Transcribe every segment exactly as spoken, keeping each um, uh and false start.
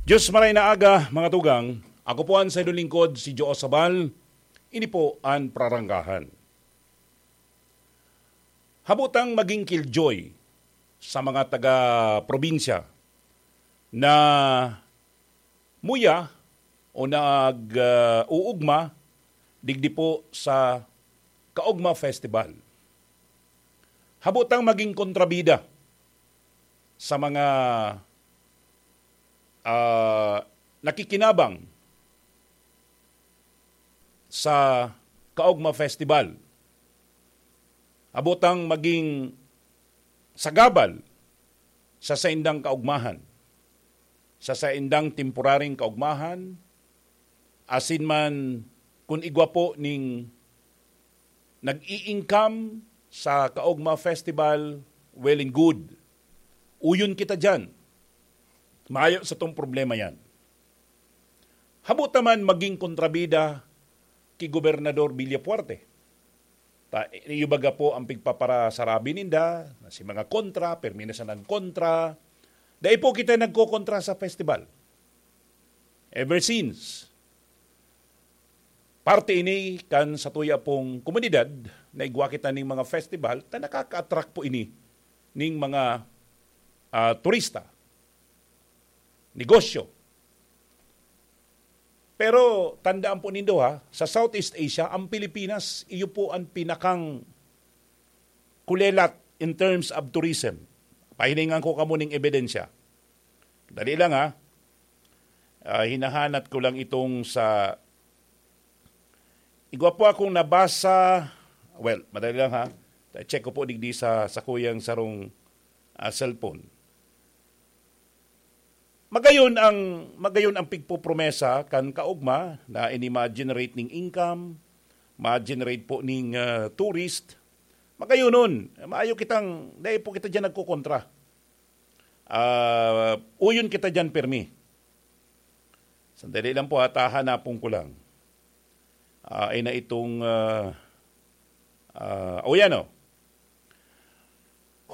Diyos maray na aga, mga tugang. Ako po an saindong lingkod, si Joe Sabal. Ini po an Praranggahan. Habo tang magin killjoy sa mga taga-probinsya na muya o nag, ah, uugma digdi po sa Kaugma Festival. Habo tang magin kontrabida sa mga, ah, nakikinabang sa Kaugma Festival. Habo tang magin sagabal sa saindang kaugmahan, sa saindang temporaryong kaugmahan, asin man kun igwa po ning nag-i-income sa Kaugma Festival, well and good. Uyon kita diyan. Mayo sa tong problema yan. Habo ta man magin kontrabida ki Gobernador Villafuerte. Ta, iyo baga po ang pigpaparasarabi ninda, na si mga kontra, permi na sanang kontra. Dai po kita nagkokontra sa festival. Ever since, parte ini kan satuya pong komunidad na igwa kita ning mga festival, ta nakaka-attract po ini ning mga, ah, turista, negosyo. Pero tandaan po nindo ha, sa Southeast Asia, ang Pilipinas, iyo po ang pinakang kulelat in terms of tourism. Pahilingan ko kamo ning ebidensya. Dali lang ha. Ah, hinahanat ko lang itong sa, igwa po akong nabasa. Well, madali lang ha. Check ko po digdi sa, sa kuyang sarong, ah, cellphone. Magayon ang, magayon ang pigpopromesa kan kaugma na ini ma-generate ning income, ma-generate po ning, ah, tourist. Magayonon, maayo kitang, dai po kita diyan nagkokontra. Ah, uyon kita diyan permi. Sandali lang po ha, ta hanapon ko lang. Ah, ay na itong, ah, ah, o yan o.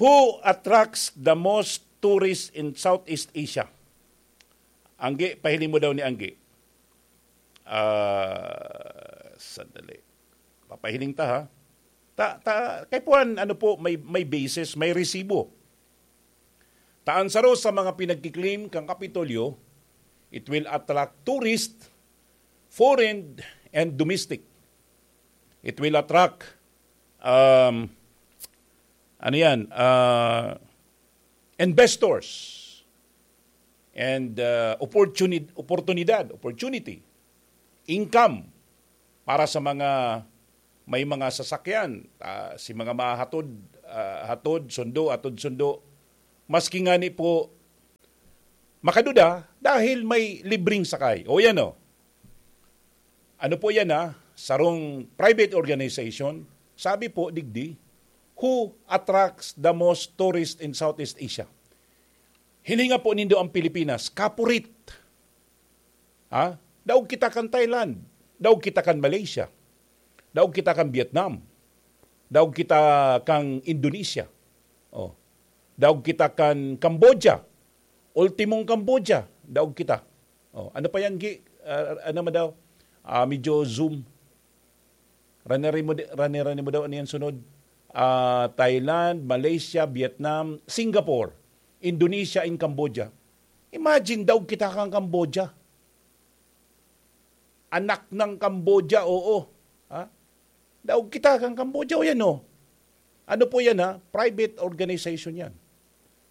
Who attracts the most tourists in Southeast Asia? Anggi, pahiling mo daw ni Anggi. Ah, sandali. Papahiling ta ha. Ta, ta, kay puan, ano po, may, may basis, may resibo. Ta an saro sa mga pinagki-claim kan Kapitolyo, it will attract tourist, foreign and domestic. It will attract, um, ano yan, uh, investors and, uh, opportunid-, oportunidad, opportunity, income para sa mga may mga sasakyan, ah, si mga mahatod, ah, hatod, sundo, hatod, sundo, maski ngani po makaduda dahil may libreng sakay. O yan o. Ano po yan ha? Sarong private organization, sabi po, digdi, who attracts the most tourists in Southeast Asia? Hilinga po nindo ang Pilipinas, kapurit. Ha? Daog kita kan Thailand, daog kita kan Malaysia, daog kita kan Vietnam, daog kita kan Indonesia, oh, daog kita kan Cambodia, ultimong Cambodia, daog kita. Oh, ano pa yan, Gi? Ah, ano man daw? Ah, medyo zoom. Rani-rani mo di-, rani-rani mo daw, ano yan sunod? Ah, Thailand, Malaysia, Vietnam, Singapore, Indonesia, and Cambodia. Imagine, daog kita kan Cambodia. Anak ng Cambodia, oo. Ha? Daog kita kan Cambodia, o yan, oh. Ano po yan, ha? Private organization yan.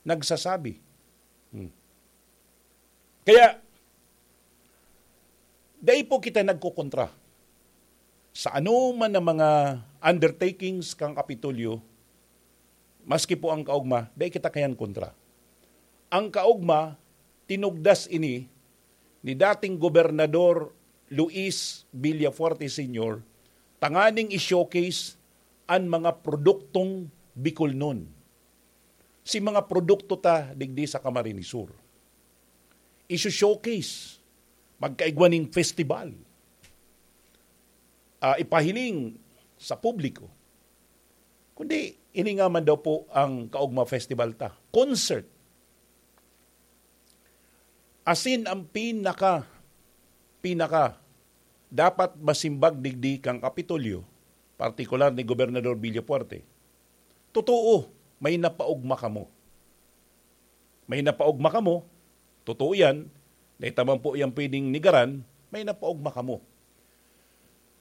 Nagsasabi. Hmm. Kaya, dai po kita nagkokontra sa anoman na mga undertakings kan Kapitolyo, maski po ang kaogma, dai kita kayan kontra. Ang kaogma, tinugdas ini ni dating Gobernador Luis Villafuerte Senior tanganing i-showcase an mga produktong Bicolnon. Si mga produkto ta digdi sa Camarines Sur. Isu-showcase, magkaigwa ning festival, ah, ipahiling sa publiko. Kundi, ini nga man daw po ang Kaogma Festival ta. Concert. Asin ang pinaka, pinaka dapat masimbag digdi kan Kapitolyo, partikular ni Gobernador Villafuerte. Totoo, may napaogma kamo. May napaogma kamo, totoo yan, dai ta man po yan pwedeng negaran, may napaogma kamo.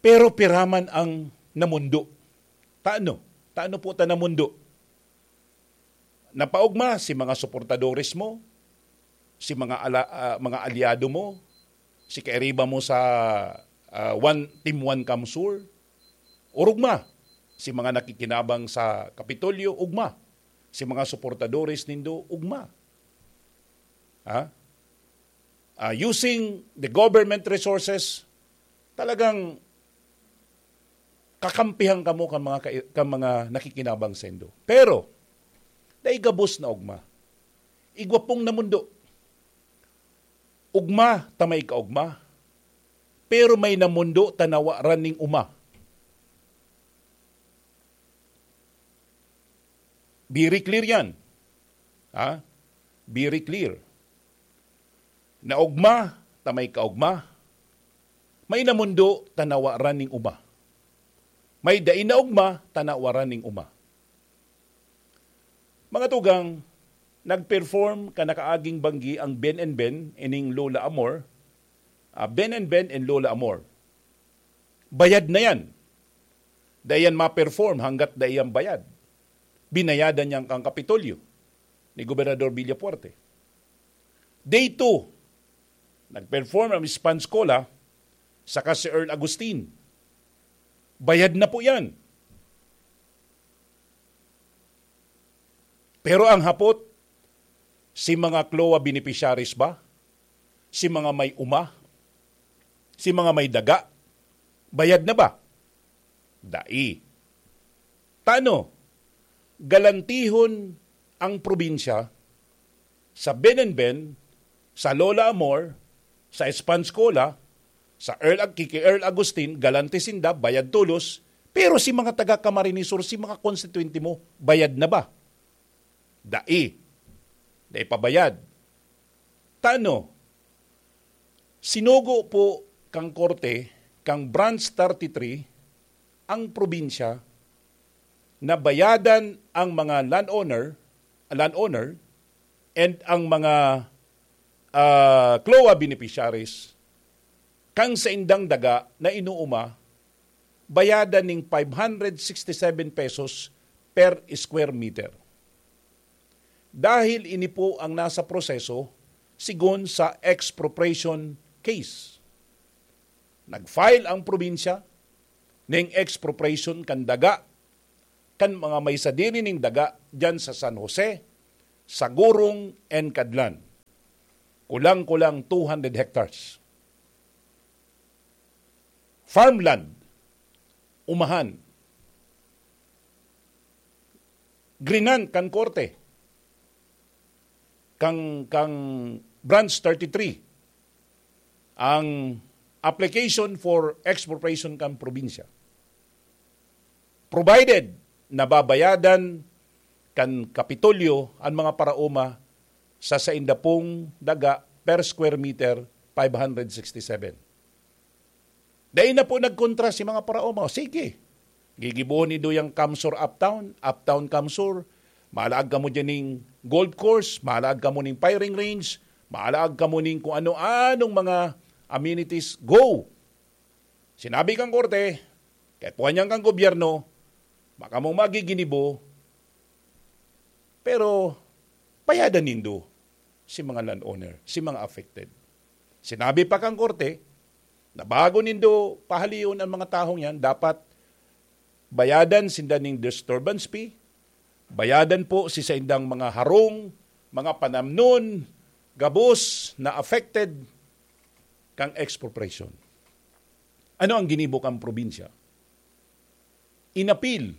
Pero pira man ang namundo. Tano? Tano po ta namundo? Napaogma si mga suportadores mo, si mga ala-, ah, mga alyado mo, si kairiba mo sa, ah, One, Team One CamSur, urugma. Si mga nakikinabang sa Kapitolyo, ugma. Si mga suportadores nindo, ugma. Ha? Ah, using the government resources, talagang kakampihan kamo kan mga kai-, kan mga nakikinabang saindo. Pero, dai gabos na ogma. Igwa pong namundo. Ogma ta may kaogma, pero may namundo ta nawaran ning oma. Very clear yan. Ha? Very clear. Naogma ta may kaogma, may namundo ta nawaran ning oma. May dai naogma ta nawaran ning oma. Mga tugang, nag-perform kan nakaaging banggi ang Ben and Ben, ining Lola Amor. Ah, Ben and Ben and Lola Amor. Bayad na yan. Dai yan ma-perform hanggat dai yan bayad. Binayadan niyan kan Kapitolyo ni Gobernador Villafuerte. Day two, nag-perform ang Miss Panskola saka si Earl Agustin. Bayad na po yan. Pero ang hapot, si mga CLOA beneficiaries ba? Si mga may oma? Si mga may daga? Bayad na ba? Dai. Tano, galantihon ang probinsya sa Ben and Ben, sa Lola Amor, sa Espanskola, sa Earl Ag-, kiki Earl Agustin, galanti sinda, bayad tolos, pero si mga taga Camarines Sur, si mga konstituyente mo, bayad na ba? Dai. Dai pa bayad. Tano, sinugo po kang korte, kang Branch thirty-three, ang probinsya na bayadan ang mga landowner, landowner and ang mga, ah, CLOA beneficiaries kan saindang daga na inuuma, bayadan ning five hundred sixty-seven pesos per square meter. Dahil ini po ang nasa proseso sigon sa expropriation case. Nag-file ang probinsya ning expropriation kan daga kan mga may sadiri ning daga diyan sa San Jose, Sagurong, and Cadlan. Kulang-kulang two hundred hectares. Farmland, umahan. Grinan kan korte, kang, kang Branch thirty-three, ang application for expropriation kan probinsya. Provided nababayadan kan Kapitolyo an mga paraoma sa sainda pong daga per square meter, five hundred sixty-seven. Dai na po nagkontra si mga paraoma. O, sige, gigibohon nindo yang CamSur Uptown, Uptown CamSur, maalaag kamo dyan ning golf course, maalaag kamo ning firing range, maalaag kamo ning kung ano-anong mga amenities. Go! Sinabi kang korte, kaya puwan yan kang gobyerno, baka mong magiginibo, pero bayadan nindo si mga landowner, si mga affected. Sinabi pa kang korte na bago nindo pahalion ang mga tahong yan, dapat bayadan sinda ning disturbance fee, bayadan po si saindang mga harong, mga panamnon, gabos na affected kang expropriation. Ano ang ginibo kang probinsya? Inapil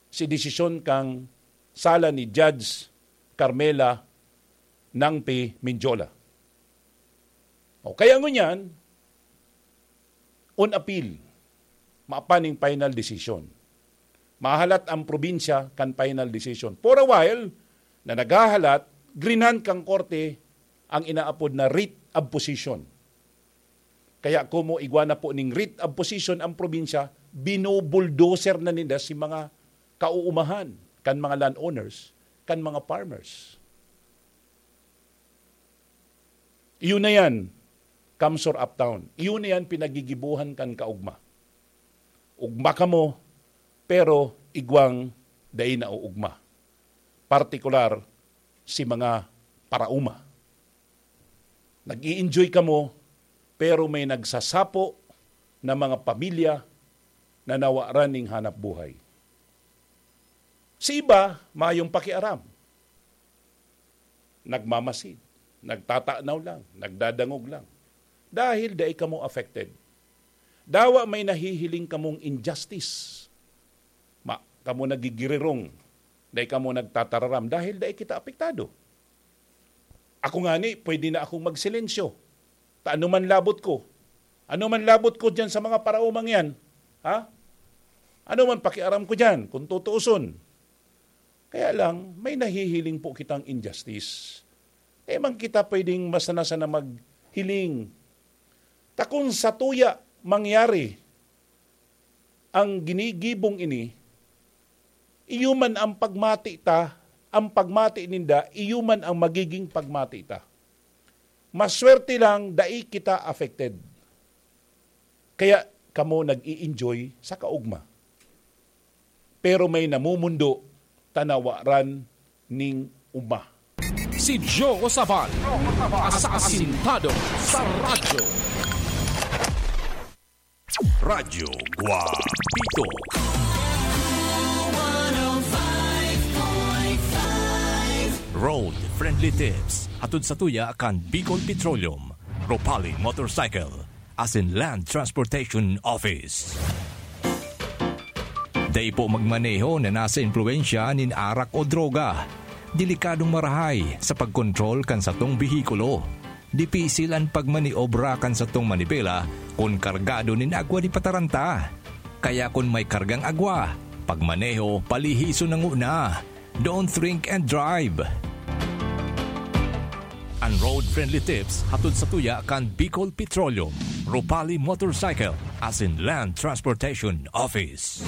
si desisyon kang sala ni Judge Carmela Nangpi Mendiola. O kaya ngunyan, on appeal, mapaning final decision. Mahalat ang probinsya kan final decision. For a while, na naghahalat, grinan kang korte ang inaapod na writ of possession. Kaya komo igwa na po ning writ of possession ang probinsya, binubuldoser na ninda si mga kauumahan kan mga landowners, kan mga farmers. Iyo na yan, CamSur Uptown. Iyo na yan pinagigibuhan kan kaugma. Ugma kamo, pero igwang dai nauugma. Partikular, si mga parauma. Nag-i-enjoy kamo, pero may nagsasapo na mga pamilya na nawaran ning hanap buhay. Si iba, mayong pakiaram. Nagmamasid, nagtatanaw lang, nagdadangog lang. Dahil dai kamo affected. Dawa may nahihiling kamong injustice. Ma, kamo nagigirirong, dai kamo nagtatararam dahil dai kita apektado. Ako ngani, pwede na akong magsilensyo. Ta ano man labot ko? Ano man labot ko diyan sa mga paraumang yan? Ha? Ano man pakiaram ko diyan kung tutuuson? Kaya lang, may nahihiling po kitang injustice. Di man kita pwedeng masana-sana maghiling. Ta kun sa tuya mangyari ang ginigibong ini, iyo man ang pagmati ta, ang pagmati ninda, iyo man ang magiging pagmati ta. Maswerte lang, dai kita affected. Kaya kamo nag-i-enjoy sa kaugma. Pero may namumundo, tanawaran ning uma. Si Joe Sabal, asasintado sa radyo. Radyo Guapito. Road Friendly Tips. Hatod sa tuya kan Bicol Petroleum, Ropali Motorcycle, asin Land Transportation Office. Dai po magmaneho na nasa impluwensya nin arak o droga. Delikadong marahay sa pagkontrol kan satong behikulo. Dipisil an pagmaniobra kan satong manibela kun kargado nin agwa di pataranta. Kaya kun may kargang agwa, pagmaneho palihison na nguna. Don't drink and drive. An road-friendly tips hatod sa tuya kan Bicol Petroleum, Ropali Motorcycle, asin Land Transportation Office.